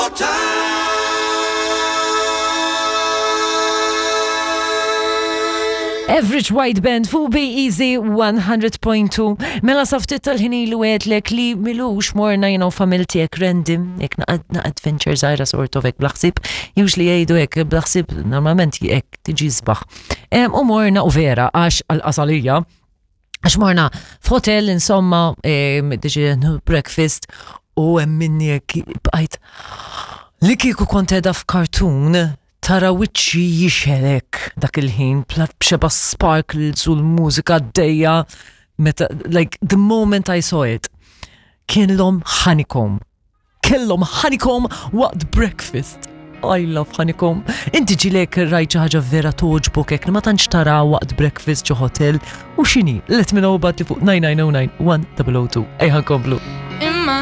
more time. Average White Band fuq Be Easy 100.2. Mela saftit tal-ħin ilu għedlek li milux morna jena u familti ek random, ek na adventure zaħira sort of ek blaħsib, usually jgħidu ek blaħsib normalment ek tiġi zbaħ. U morna u vera għax għal-qasalija, għax morna f'hotel insomma, diġi breakfast u minni ek bqajt li kieku kont edha f'kartun tara wiċċi jixelek dak il-ħin b'xeba sparkles u l-mużika għaddejja meta like the moment I saw it kienlhom honeycomb. Kellhom honeycomb waqt breakfast. I love honeycomb. Inti ġilek rajt xi ħaġa vera toġbok hekk li ma tantx tara waqt breakfast ġo hotel u x'inhi? Let me know about li fuq 9909 1002. Ejja nkomplu.